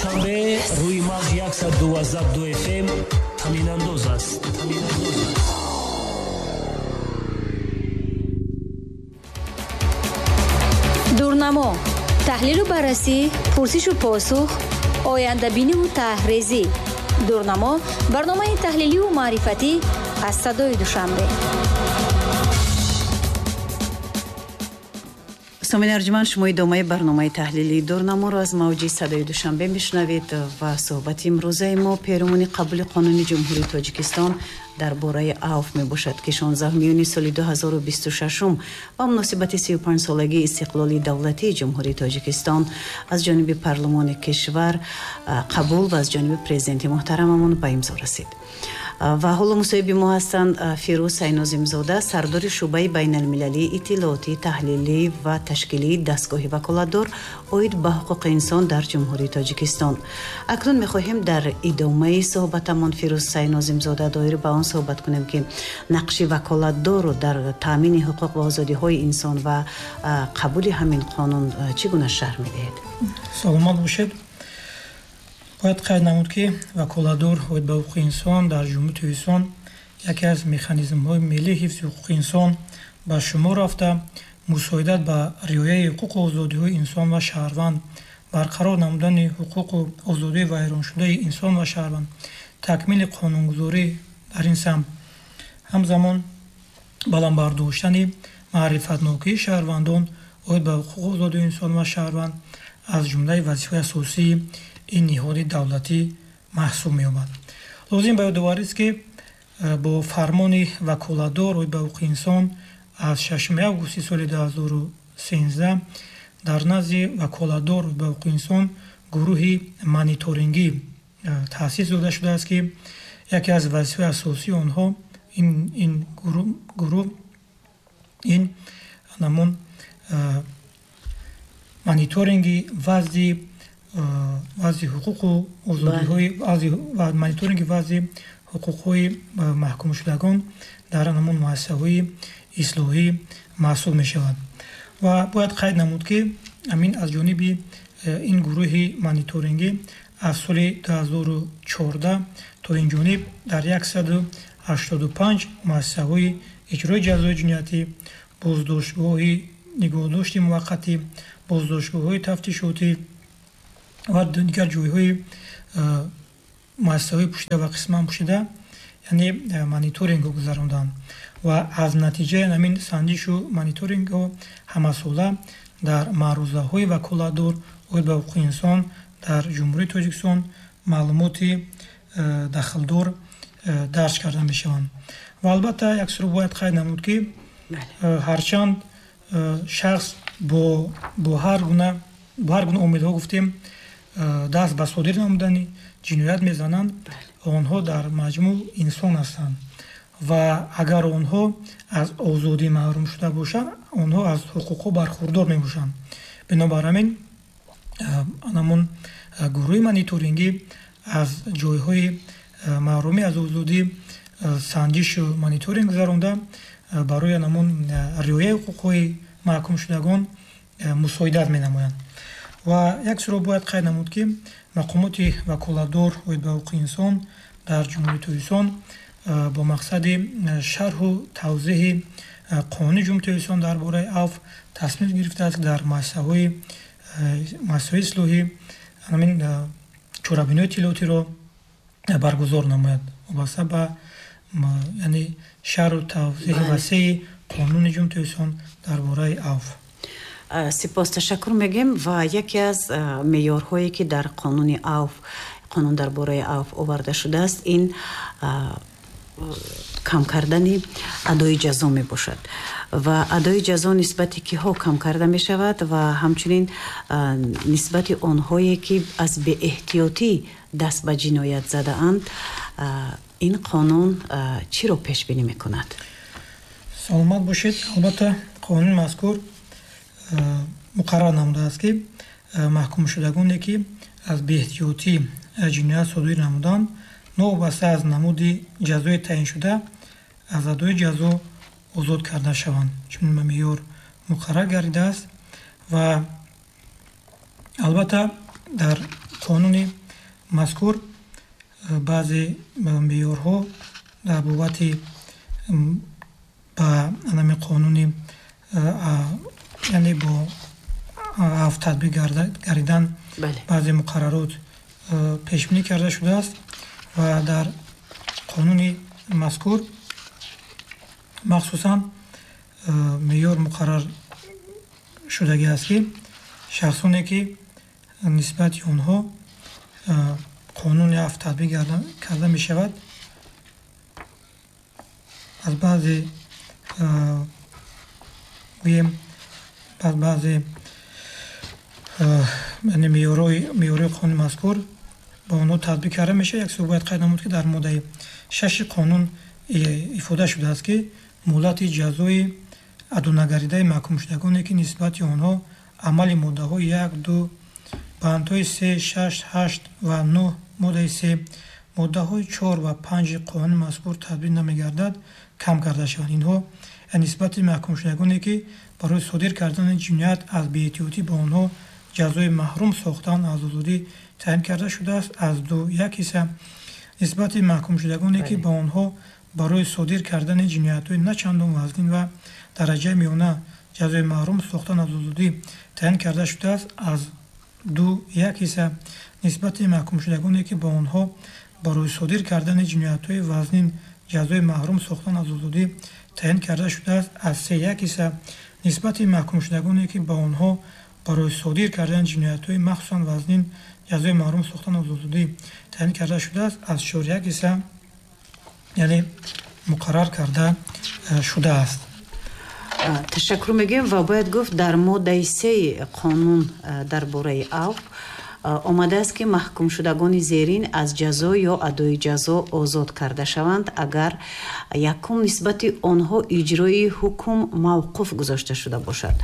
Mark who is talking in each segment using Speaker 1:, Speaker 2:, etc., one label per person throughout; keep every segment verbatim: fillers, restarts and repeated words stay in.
Speaker 1: Душанбе рӯи мавҷ яксад дувоздаҳ ду эф эм танинандоз аст. Танинандоз аст.
Speaker 2: Дурнамо, таҳлилу баррасӣ, пурсишу посух, ояндабиниву таҳрезӣ. Дурнамо барномаи таҳлиливу маърифатӣ аз садои Душанбе.
Speaker 3: Самин арҷманд, шумо идомаи барномаи таҳлилии Дурнаморо аз мавҷи садои Душанбе мешунавед ва суҳбати имрӯзаи мо перомуни қабули қонуни Ҷумҳурии Тоҷикистон дар бораи авф мебошад, ки шонздаҳуми июни соли ду ҳазору бисту шашум ба муносибати сию панҷсолагии истиқлоли давлатии Ҷумҳурии Тоҷикистон аз ҷониби парлумони кишвар қабул ва аз ҷониби президенти муҳтарамамон ба имзо расид. Ва ҳоло мусоҳиби мо ҳастанд Фирӯз Сайнозимзода, сардори шӯъбаи байналмилалии иттилоотӣ, таҳлилӣ ва ташкилии дастгоҳи ваколатдор оид ба ҳуқуқи инсон дар Ҷумҳурии Тоҷикистон. Акнун мехоҳем дар идомаи суҳбатамон Фирӯз Сайнозимзода доир ба он суҳбат кунем, ки нақши ваколатдорро дар таъмини ҳуқуқ ва озодиҳои инсон ва қабули ҳамин қонун чӣ гуна шарҳ медиҳед?
Speaker 4: Саломат бошед. Бояд қайд намуд, ки ваколатдор оид ба ҳуқуқи инсон дар Ҷумҳурии Тоҷикистон яке аз механизмҳои миллии ҳифзи ҳуқуқи инсон ба шумор рафта, мусоидат ба риояи ҳуқуқу озодиҳои инсон ва шаҳрванд, барқарор намудани ҳуқуқу озодии вайроншудаи инсон ва шаҳрванд, такмили қонунгузорӣ дар ин самт, ҳамзамон баланд бардоштани маърифатнокии шаҳрвандон оид ба ҳуқуқу озодии инсон ва шаҳрванд аз ҷумлаи вазифаи асосии ин ниҳоди давлатӣ маҳсуб меёбад. Лозим ба ёдоварист, ки бо фармони ваколатдор оид ба ҳуқуқи инсон аз шашуми августи соли ду ҳазору сенздаҳ дар назди ваколатдор оид ба ҳуқуқи инсон гурӯҳи мониторингӣ таъсис дода шудааст, ки яке аз вазифаи асосии онҳо ин, ин гурӯҳ ин ҳамон мониторинги вазъи вазъи ҳуқуқу озодиҳои ва мониторинги вазъи ҳуқуқҳои маҳкумшудагон дар ҳамон муассисаҳои ислоҳӣ маҳсуб мешавад. Ва бояд қайд намуд, ки ҳамин аз ҷониби ин гурӯҳи мониторингӣ аз соли ду ҳазору чордаҳ то ин ҷониб дар яксаду ҳаштоду панҷ муассисаҳои иҷрои ҷазои ҷиноятӣ, боздоштгоҳи нигоҳдошти муваққатӣ, боздоштгоҳҳои тафтишотӣ ва дигар ҷойҳои муассисаҳои пӯшида ва қисман пӯшида, яъне мониторингҳо гузаронданд ва аз натиҷаи ҳамин санҷишу мониторингҳо ҳамасола дар маърузаҳои ваколатдор оид ба ҳуқуқи инсон дар Ҷумҳурии Тоҷикистон маълумоти дахлдор дарҷ карда мешаванд. Ва албатта як суро бояд қайд намуд, ки ҳарчанд шахс бо бо ҳар гуна бо ҳар гуна омилҳо гуфтем даст ба содир намудани ҷиноят мезананд, онҳо дар маҷмӯъ инсон ҳастанд ва агар онҳо аз озодӣ маҳрум шуда бошанд, онҳо аз ҳуқуқҳо бархурдор мебошанд. Бинобар ҳамин ҳамон гурӯҳи мониторингӣ аз ҷойҳои маҳрумӣ аз озодӣ санҷишу мониторинг гузаронда барои ҳамон риояи ҳуқуқҳои маҳкумшудагон мусоидат менамоянд. Ва як суро бояд қайд намуд, ки мақомоти ваколатдор оид ба ҳуқуқи инсон дар Ҷумҳурии Тоҷикистон бо мақсади шарҳу тавзеҳи қонуни Ҷумҳурии Тоҷикистон дар бораи авф тасмим гирифтааст, ки дар муассисаҳои муассисаҳои ислоҳӣ ҳамин чорабиниҳои иттилоотиро баргузор намояд вобаста ба яъне шарҳу тавзеҳи васеи қонуни Ҷумҳурии Тоҷикистон дар бораи авф.
Speaker 3: Сипос, ташаккур мегӯем. Ва яке аз меъёрҳое ки дар қонуни авф, қонун дар бораи авф оварда шудааст, ин кам кардани адои ҷазо мебошад ва адои ҷазо нисбати киҳо кам карда мешавад ва ҳамчунин нисбати онҳое ки аз беэҳтиётӣ даст ба ҷиноят задаанд, ин қонун чиро пешбинӣ мекунад?
Speaker 4: Саломат бошед. Албатта қонуни мазкур муқаррар намудааст, ки маҳкумшудагоне ки аз беэҳтиётӣ ҷиноят содир намуданд, новобаста аз намуди ҷазои таъиншуда аз адои ҷазо озод карда шаванд. Чунин меъёр муқаррар гардидааст ва албатта дар Қонуни мазкур баъзе меъёрҳо дар бобати ба ҳамин қонуни, яъне бо афв татбиқ гардидан баъзе муқаррарот пешбинӣ карда шудааст ва дар қонуни мазкур махсусан меъёр муқаррар шудагӣ аст, ки шахсоне ки нисбати онҳо қонуни афв татбиқ карда мешавад, аз баъзе гӯем аз баъзе яъне меъёрҳои қонуни мазкур ба онҳо татбиқ карда мешавад. Як суҳбат қайд намуд, ки дар моддаи шаши қонун ифода шудааст, ки муҳлати ҷазои адонагардидаи маҳкумшудагоне, ки нисбати онҳо амали моддаҳои як, ду, бандҳои се, шаш, ҳашт ва нӯҳ моддаи се, моддаҳои чор ва панҷи қонуни мазкур татбиқ намегардад, кам карда шаванд. Инҳо нисбати маҳкумшудагоне, ки барои содир кардани ҷиноят аз беэҳтиётӣ ба онҳо ҷазои маҳрум сохтан аз озодӣ таъин карда шудааст, аз ду як ҳисса, нисбати маҳкумшудагоне, ки ба онҳо барои содир кардани ҷиноятҳои на чандон вазнин ва дараҷаи миёна ҷазои маҳрум сохтан аз озодӣ таъин карда шудааст, аз ду як ҳисса, нисбати маҳкумшудагоне, ки ба онҳо барои содир кардани ҷиноятҳои вазнин ҷазои маҳрум сохтан аз озодӣ таъин карда шудааст, аз се як ҳисса, нисбати маҳкумшудагоне, ки ба онҳо барои содир кардани ҷиноятҳои махсусан вазнин ҷазои маҳрум сохтан аз озодӣ таъин карда шудааст, аз чор як ҳисса, яъне муқаррар карда шудааст.
Speaker 3: Ташаккур мегӯем ва бояд гуфт, дар моддаи сеи қонун дар бораи афв омадааст, ки маҳкумшудагони зерин аз ҷазо ё адои ҷазо озод карда шаванд, агар якум нисбати онҳо иҷрои ҳукм мавқуф гузошта шуда бошад,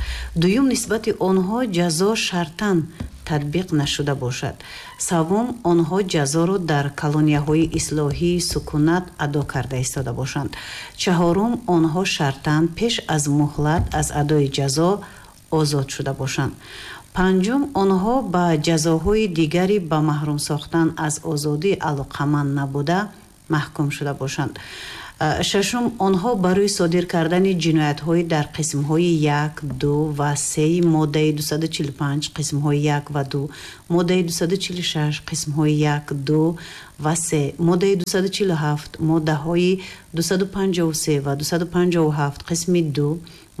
Speaker 3: дуюм нисбати онҳо ҷазо шартан татбиқ нашуда бошад, севум онҳо ҷазоро дар колонияҳои ислоҳии сукунат адо карда истода бошанд, чаҳорум онҳо шартан пеш аз муҳлат аз адои ҷазо озод шуда бошанд, панҷум онҳо ба ҷазоҳои дигари ба маҳрум сохтан аз озодӣ алоқаманд набуда маҳкум шуда бошанд, шашум онҳо барои содир кардани ҷиноятҳои дар қисмҳои як, ду ва сеи моддаи дусаду чилу панҷ, қисмҳои як ва ду, моддаи дусаду чилу шаш, қисмҳои як, ду ва се, моддаи дусаду чилу ҳафт, моддаҳои дусаду панҷоҳу се ва дусаду панҷоҳу ҳафт, қисми ду,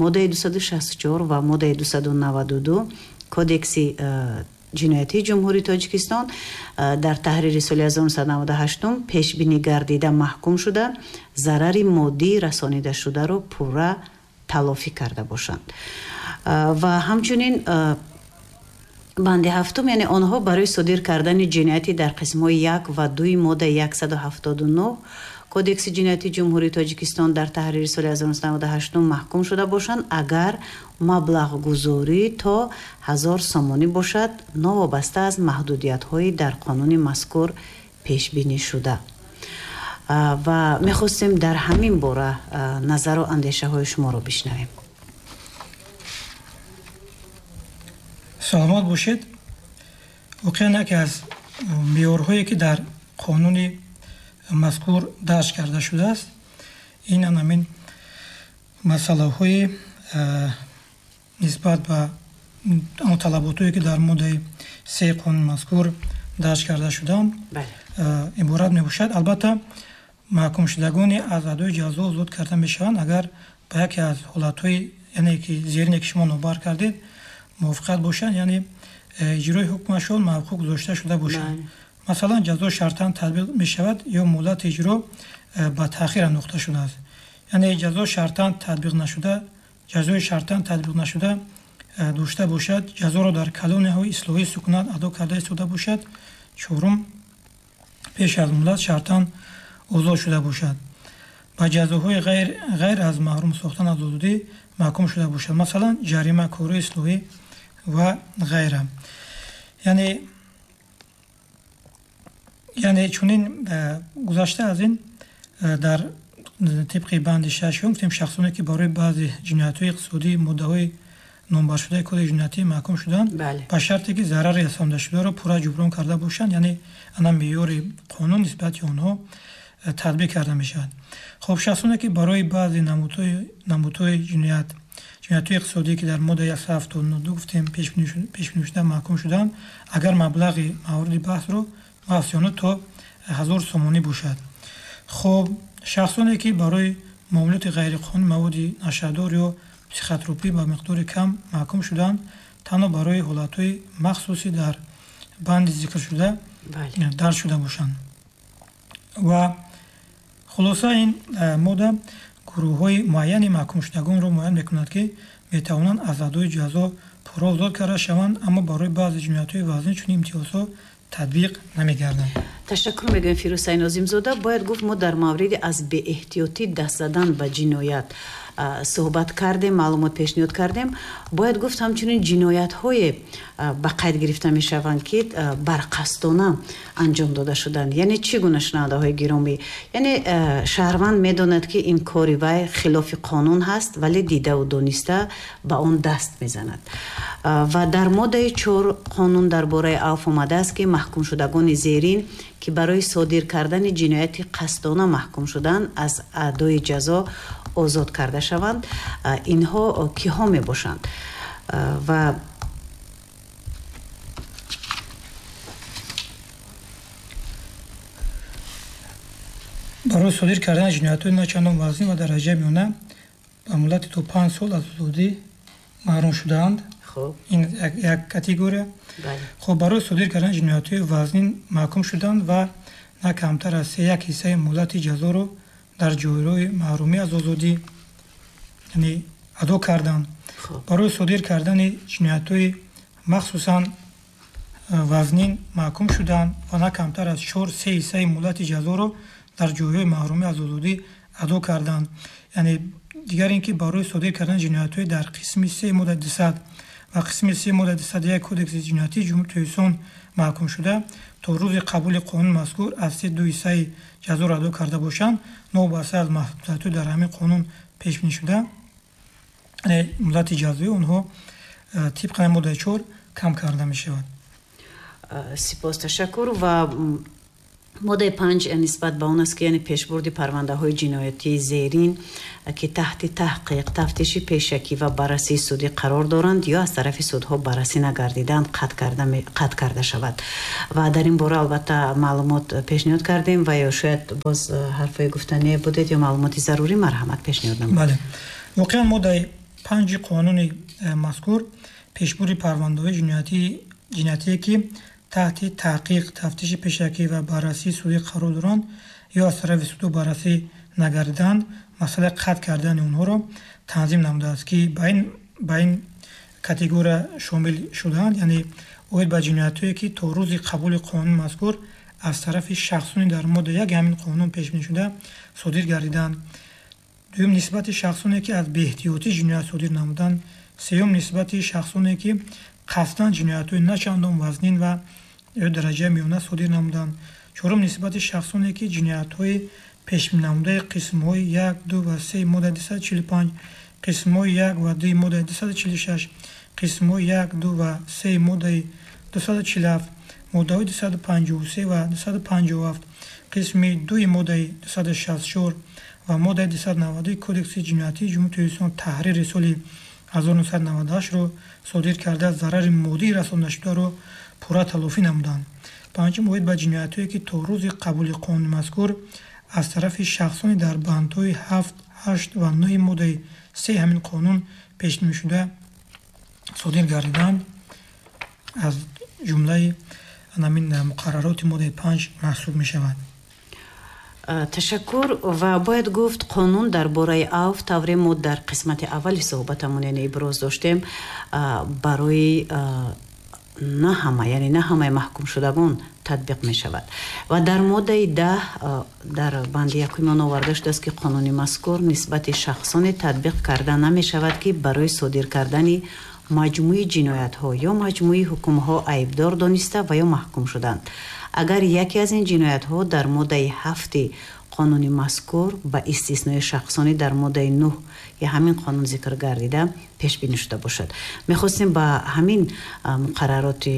Speaker 3: моддаи дусаду шасту чор ва моддаи дусаду наваду ду Кодекси ҷиноятии Ҷумҳурии Тоҷикистон дар таҳрири соли ҳазору нӯҳсаду наваду ҳаштум пешбинӣ гардида маҳкум шуда, зарари моддӣ расонида шударо пурра талофӣ карда бошанд. Ва ҳамчунин банди ҳафтум, яъне онҳо барои содир кардани ҷинояти дар қисмҳои як ва дуи моддаи яксаду ҳафтоду нӯҳ Кодекси ҷиноятии Ҷумҳурии Тоҷикистон дар таҳрири соли ҳазору нӯҳсаду наваду ҳаштум маҳкум шуда бошанд, агар маблағгузорӣ то ҳазор сомонӣ бошад, новобаста аз маҳдудиятҳои дар қонуни мазкур пешбинӣ шуда. Ва мехостем дар ҳамин бора назару андешаҳои шуморо бишнавем.
Speaker 4: Саломат бошед. Воқеан яке аз меъёрҳое, ки дар қонуни мазкур дарҷ карда шудааст, ин ҳамин масъалаҳои нисбат ба он талаботҳое, ки дар моддаи сеи қонуни мазкур дарҷ карда шудаанд, иборат мебошад. Албатта маҳкумшудагоне аз адои ҷазо озод карда мешаванд, агар ба яке аз ҳолатҳои, яъне ки зерине ки шумо номбар кардед, мувофиқат бошанд, яъне иҷрои ҳукмашон мавқуф гузошта шуда бошанд. Масалан, ҷазо шартан татбиқ мешавад ё муҳлати иҷро ба таъхир андохта шудааст. Яъне ҷазо шартан татбиқ нашуда, ҷазои шартан татбиқ нашуда дошта бошад, ҷазоро дар колонияҳои ислоҳии сукунат адо карда истода бошад. Чорум, пеш аз муҳлат шартан озод шуда бошад, ба ҷазоҳои ғайр, ғайр аз маҳрум сохтан аз озодӣ маҳкум шуда бошад, масалан ҷарима, кори ислоҳӣ ва ғайра. Яъне яъне чунин гузашта аз ин дар тибқи банди шашум гуфтем, шахсоне ки барои баъзе ҷиноятҳои иқтисодӣ моддаҳои номбаршудаи Кодекси ҷиноятӣ маҳкум шуданд, ба шарте ки зарари расондашударо пурра ҷуброн карда бошанд, яъне ана меъёри қонун нисбати онҳо татбиқ карда мешавад. Хоб, шахсоне ки барои баъзе намудҳои ҷиноят, ҷиноятҳои иқтисодӣ, ки дар моддаи яксаду ҳафтоду ду гуфтем пешбинӣ шуда маҳкум шуданд, агар маблағи мавриди баҳсро мафсиёна то ҳазор сомонӣ бошад. Хоб, шахсоне ки барои муомилоти ғайриқонунии маводи нашъадор ё психотропӣ ба миқдори кам маҳкум шуданд, танҳо барои ҳолатҳои махсуси дар банди зикршуда дарҷ шуда бошанд. Ва хулоса, ин модда гурӯҳҳои муайяни маҳкумшудагонро муайян мекунад, ки метавонанд аз адои ҷазо пурра озод карда шаванд, аммо барои баъзе ҷиноятҳои вазнин чунин имтиёзҳо татбиқ намегарданд.
Speaker 3: Ташаккур мегӯем, Фирӯз Нозимзода. Бояд гуфт, мо дар мавриди аз беэҳтиётӣ даст задан ба ҷиноят суҳбат кардем, маълумот пешниҳод кардем. Бояд гуфт, ҳамчунин ҷиноятҳое ба қайд гирифта мешаванд, ки барқасдона анҷом дода шуданд. Яъне чӣ гуна, шунавандаҳои гиромӣ? Яъне шаҳрванд медонад, ки ин кори вай хилофи қонун ҳаст, вале дидаву дониста ба он даст мезанад. Ва дар моддаи чор қонун дар бораи авф омадааст, ки маҳкумшудагони зерин, ки барои содир кардани ҷинояти қасдона маҳкум шуданд, аз адои ҷазо озод карда шаванд. Инҳо киҳо мебошанд? Ва
Speaker 4: барои содир кардани ҷиноятҳои начандон вазнин ва дараҷаи миёна ба муддати то панҷ сол аз озодӣ маҳрум шудаанд. Ин як категория. Хоб, барои содир кардани ҷиноятҳои вазнин маҳкум шуданд ва на камтар аз се як ҳиссаи муҳлати ҷазоро дар ҷойҳои маҳрумӣ аз озодӣ, яъне адо карданд. Барои содир кардани ҷиноятҳои махсусан вазнин маҳкум шуданд ва на камтар аз чор се ҳиссаи муҳлати ҷазоро дар ҷойҳои маҳрумӣ аз озодӣ адо карданд. Яъне дигар ин ки барои содир кардани ҷиноятҳои дар қисми се моддаи дусад ва қисми се моддаи дусаду як Кодекси ҷиноятии Ҷумҳурии Тоҷикистон маҳкум шуда, то рӯзи қабули қонуни мазкур аз се ду ҳиссаи ҷазоро адо карда бошанд, новобаста аз маҳдудиятҳои дар ҳамин қонун пешбинӣ шуда, муҳлати ҷазои онҳо тибқи моддаи чор кам карда мешавад.
Speaker 3: Сипос, ташаккур. Ва моддаи панҷ нисбат ба он аст, ки яъне пешбурди парвандаҳои ҷиноятии зерин, ки таҳти таҳқиқ, тафтиши пешакӣ ва баррасии судӣ қарор доранд ё аз тарафи судҳо баррасӣ нагардидаанд, қатъ карда шавад. Ва дар ин бора албатта маълумот пешниҳод кардем ва ё шояд боз ҳарфҳои гуфтание будед ё маълумоти зарурӣ, марҳамат пешниҳод намоед.
Speaker 4: Бале, воқеан моддаи панҷи қонуни мазкур пешбурди парвандаҳои ҷиноятие, ки таҳти таҳқиқ, тафтиши пешакӣ ва баррасии судӣ қарор доранд ё аз тарафи судҳо баррасӣ нагардидаанд, масъалаи қатъ кардани онҳоро танзим намудааст, ки ба ин категория шомил шудаанд, яъне оид ба ҷиноятҳое, ки то рӯзи қабули қонуни мазкур аз тарафи шахсони дар моддаи як ҳамин қонун пешбинӣ шуда содир гардиданд. Дуюм, нисбати шахсоне, ки аз беэҳтиётӣ ҷиноят содир намуданд. Сеюм, нисбати шахсоне, ки қасдан ҷиноятҳои начандон вазнин ва ё дараҷаи миёна содир намуданд. Чорум, нисбати шахсоне, ки ҷиноятҳои пешбинӣнамудаи қисмҳои як, ду ва се моддаи дусаду чилу панҷ, қисмҳои як ва ду моддаи дусаду чилу шаш, қисмҳои як, ду ва се моддаи дусаду чилу ҳафт, моддаҳои дусаду панҷоҳу се ва дусаду панҷоҳу ҳафт, қисми дуи моддаи дусаду шасту чор ва моддаи дусаду наваду Кодекси ҷиноятии Ҷумҳурии Тоҷикистон таҳрири соли ҳазору нӯҳсаду наваду ҳаштро содир карда, зарари моддии расондашударо пурра талофӣ намуданд. Панҷум, оид ба ҷиноятҳое, ки то рӯзи қабули қонуни мазкур аз тарафи шахсони дар бандҳои ҳафт, ҳашт ва нӯҳи моддаи се ҳамин қонун пешбинӣ шуда содир гардиданд, аз ҷумлаи ҳамин муқаррароти моддаи панҷ маҳсуб мешавад.
Speaker 3: Ташаккур. Ва бояд гуфт, қонун дар бораи авф, тавре мо дар қисмати аввали суҳбатамон яъне иброз доштем, барои на ҳама, яъне на ҳамаи маҳкумшудагон татбиқ мешавад. Ва дар моддаи даҳ дар банди якуми он оварда шудааст, ки қонуни мазкур нисбати шахсоне татбиқ карда намешавад, ки барои содир кардани маҷмӯи ҷиноятҳо ё маҷмӯи ҳукмҳо айбдор дониста ва ё маҳкум шуданд. Агар яке аз ин ҷиноятҳо дар моддаи ҳафти Қонуни мазкур ба истиснои шахсони дар моддаи нӯҳ ё ҳамин қонун зикр гардида пешбинӣ шуда бошад. Мехостем ба ҳамин муқаррароти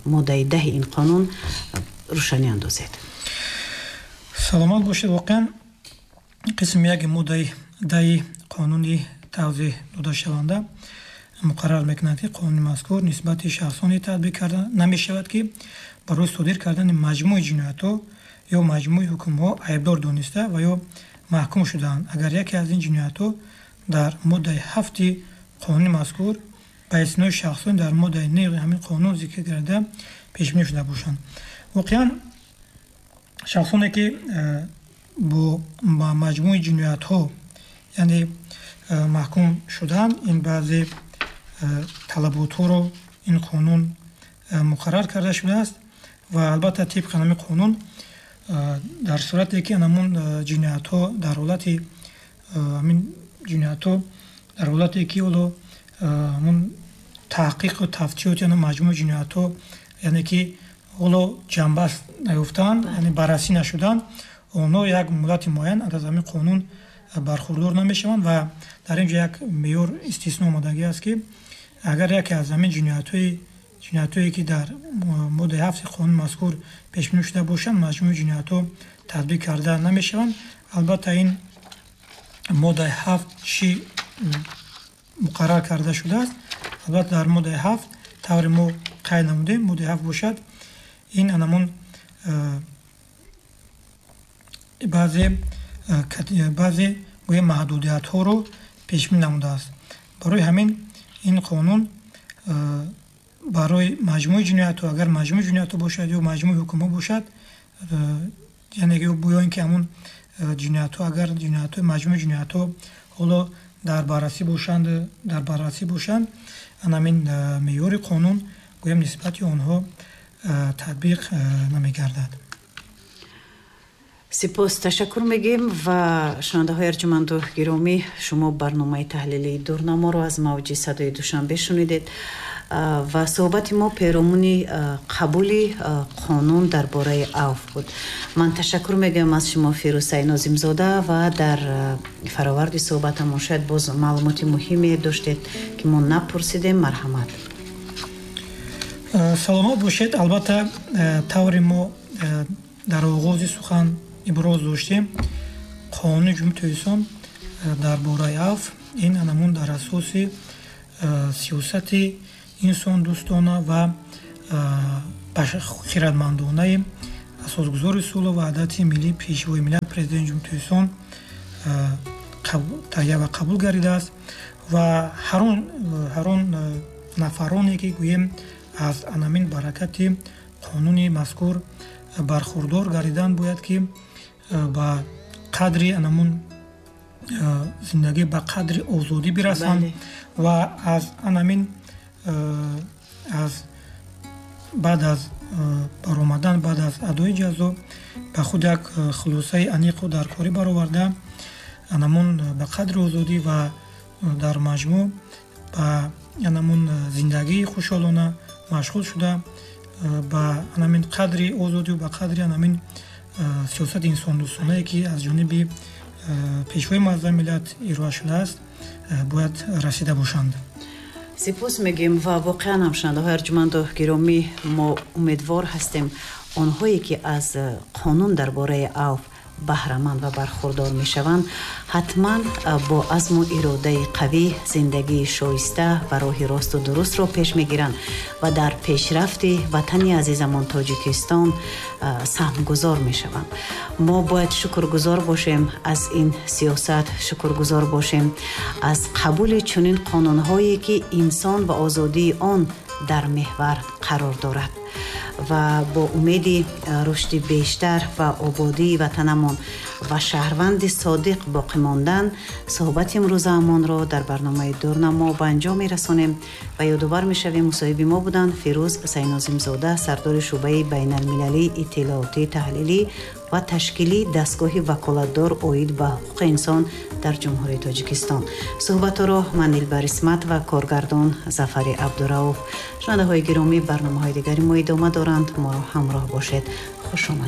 Speaker 3: моддаи даҳи ин қонун рӯшанӣ андозед.
Speaker 4: Саломат бошед. Воқеан қисми яки моддаи даҳи қонуни тавзеҳ додашаванда муқаррар мекунад, ки қонуни мазкур нисбати шахсоне татбиқ карда намешавад, ки барои содир кардани маҷмӯи ҷиноятҳо ё маҷмӯи ҳукмҳо айбдор дониста ва ё маҳкум шудаанд, агар яке аз ин ҷиноятҳо дар моддаи ҳафти қонуни мазкур ба истиснои шахсоне дар моддаи нӯҳи ҳамин қонун зикр гардида пешбинӣ шуда бошанд. Воқеан шахсоне ки бо маҷмӯи ҷиноятҳо яъне маҳкум шудаанд, ин баъзе талаботҳоро ин қонун муқаррар карда шудааст ва албатта тибқи ҳамин қонун дар сурате ки ҳамон ҷиноятҳо дар ҳолати ҳамин ҷиноятҳо дар ҳолате ки ҳоло ҳамон таҳқиқу тафтишоти маҷмӯи ҷиноятҳо яъне ки ҳоло ҷанбаст наёфтаанд, яъне баррасӣ нашуданд, онҳо як муҳлати муайян аз ҳамин қонун бархурдор намешаванд ва дар ин ҷо як меъёр истисно омадагӣ аст, ки агар яке аз ҳамин ҷиноятҳои ҷиноятҳое ки дар моддаи ҳафти қонуни мазкур пешбинӣ шуда бошанд, маҷмӯи ҷиноятҳо татбиқ карда намешаванд. Албатта ин моддаи ҳафт чӣ муқаррар карда шудааст? Албатта дар моддаи ҳафт тавре мо қайд намудем, моддаи ҳафт бошад ин анамон баъзе баъзе гӯя маҳдудиятҳоро пешбинӣ намудааст. Барои ҳамин ин қонун барои маҷмӯи ҷиноятҳо, агар маҷмӯи ҷиноятҳо бошад ё маҷмӯи ҳукмҳо бошад, яъне ё ин ки ҳамон ҷиноятҳо агар ҷиноятҳои маҷмӯи ҷиноятҳо ҳоло дар баррасӣ бошанд, дар баррасӣ бошанд, ҳамин меъёри қонун гӯям нисбати онҳо татбиқ намегардад.
Speaker 3: Сипос, ташаккур мегӯем ва шунавандаҳои арҷуманду гиромӣ, шумо барномаи таҳлилии дурнаморо аз мавҷи садои Душанбе шунидед ва суҳбати мо перомуни қабули қонун дар бораи авф буд. Ман ташаккур мегӯям аз шумо, Фирӯз Сайнозимзода, ва дар фароварди суҳбатамон шояд боз маълумоти муҳиме доштед, ки мо напурсидем. Марҳамат.
Speaker 4: Саломат бошед. Албатта тавре мо дар оғози сухан иброз доштем, қонуни Ҷумҳурии Тоҷикистон дар бораи авф ин анамун дар асоси сиёсати инсондӯстона ва хирадмандонаи асосгузори сулҳу ваҳдати миллӣ, Пешвои миллат, Президенти Ҷумҳурии Тоҷикистон таҳия ва қабул гардидааст ва ҳар он нафароне ки гӯем аз анамин баракати қонуни мазкур бархурдор гардидан, бояд ки ба қадри анамун зиндагӣ, ба қадри озодӣ бирасанд ва аз анамин аз баъд аз баромадан, баъд аз адои ҷазо ба худ як хулосаи аниқу даркорӣ бароварда, анамун ба қадри озодӣ ва дар маҷмӯъ ба анамун зиндагии хушҳолона машғул шуда, ба анамин қадри озодию ба қадри анамин сиёсати инсондӯстонае ки аз ҷониби Пешвои муаззами миллат ироа шудааст, бояд расида бошанд.
Speaker 3: Сипос мегӯем ва воқеан ҳам шунавандаҳои арҷуманду гиромӣ, мо умедвор ҳастем онҳое ки аз қонун дар бораи авф баҳраманд ва бархурдор мешаванд, ҳатман бо азму иродаи қавӣ зиндагии шоиста ва роҳи росту дурустро пеш мегиранд ва дар пешрафти ватани азизамон Тоҷикистон саҳмгузор мешаванд. Мо бояд шукргузор бошем аз ин сиёсат, шукргузор бошем аз қабули чунин қонунҳое ки инсон ва озодии он дар меҳвар қарор дорад ва бо умеди рушди бештар ва ободии ватанамон ва шаҳрванди содиқ боқӣ мондан суҳбати имрӯзаамонро дар барномаи дурнамо ба анҷом мерасонем ва ёдовар мешавем мусоҳиби мо буданд Фирӯз Сайнозимзода, сардори шӯъбаи байналмилалии иттилоотӣ, таҳлилӣ ва ташкилии дастгоҳи ваколатдор оид ба ҳуқуқи инсон дар Ҷумҳурии Тоҷикистон. Суҳбатҳоро ман Дилбар Исмат ва коргардон Зафари Абдурауф. Шунавандаҳои гиромӣ, барномаҳои дигари мо идома доранд. Моро ҳамроҳ бошед. Хуш омадед.